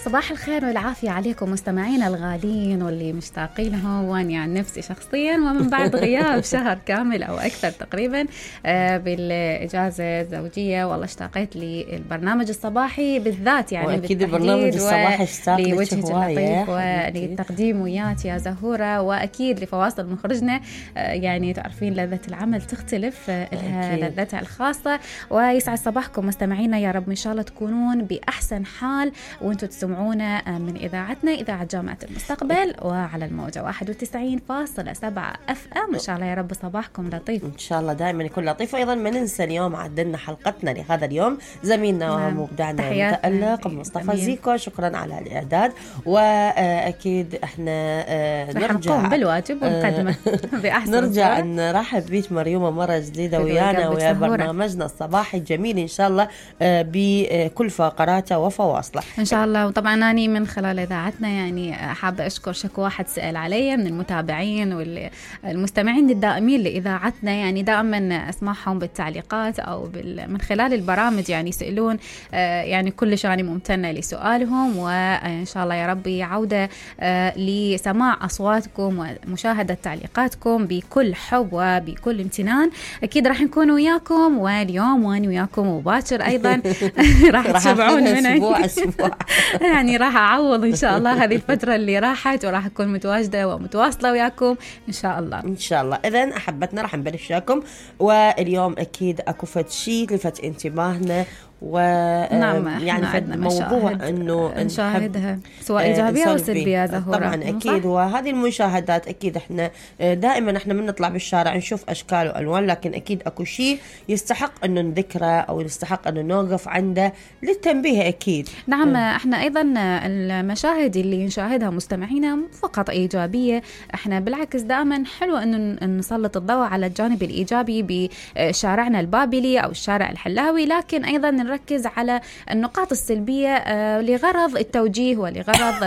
صباح الخير والعافية عليكم مستمعينا الغالين واللي مشتاقين لهم، واني عن نفسي شخصيا ومن بعد غياب شهر كامل أو أكثر تقريبا بالإجازة الزوجية. والله اشتاقيت للبرنامج الصباحي بالذات، يعني وأكيد البرنامج الصباحي اشتاق لوجهك اللطيف وللتقديم وياك يا زهورة، وأكيد لفواصل مخرجنا. يعني تعرفين لذة العمل تختلف، لها لذتها الخاصة. ويسعد صباحكم مستمعينا، يا رب إن شاء الله تكونون بأحسن حال وانتم تسمعونا من إذاعتنا إذاعة جامعة المستقبل وعلى الموجة 91.7 FM. إن شاء الله يا رب صباحكم لطيف إن شاء الله، دائما يكون لطيف. وأيضا ما ننسى اليوم عدلنا حلقتنا لهذا اليوم زميلنا ومبدعنا المتألق مصطفى زيكو، شكرا على الإعداد. وأكيد احنا نرجع بالواجب ونقدمه بأحسن نرجع نرحب بيك مريومة مرة جديدة ويانا ويا برنامجنا الصباحي الجميل إن شاء الله بكل فقراته وفواصله إن شاء الله. وطبعا أنا من خلال إذاعتنا يعني حابة أشكر شكوى واحد سأل علي من المتابعين والمستمعين الدائمين لإذاعتنا، يعني دائما أسمعهم بالتعليقات أو من خلال البرامج، يعني يسألون يعني كلش أنا ممتنة لسؤالهم، وإن شاء الله يا ربي عودة لسماع أصواتكم ومشاهدة تعليقاتكم بكل حب وبكل امتنان. أكيد راح نكون وياكم، واليوم وأنا وياكم وباكر أيضا راح تشبعون مني أسبوع يعني راح أعوض إن شاء الله هذه الفترة اللي راحت، وراح أكون متواجدة ومتواصلة وياكم إن شاء الله. إن شاء الله. إذن أحبتنا راح نبلش وياكم، واليوم أكيد أكو فد شيء لفت انتباهنا نعم، يعني فد موضوع إنه نشاهدها سواء إيجابية أو سلبية زهورة. طبعا أكيد، وهذه المشاهدات أكيد إحنا دائما إحنا من نطلع بالشارع نشوف أشكال وألوان، لكن أكيد أكو شيء يستحق إنه نذكره أو يستحق إنه نوقف عنده للتنبيه أكيد. نعم، إحنا أيضا المشاهد اللي نشاهدها مستمعينا فقط إيجابية، إحنا بالعكس دائما حلو إنه نسلط الضوء على الجانب الإيجابي بشارعنا البابلي أو الشارع الحلاوي، لكن أيضا نركز على النقاط السلبية لغرض التوجيه ولغرض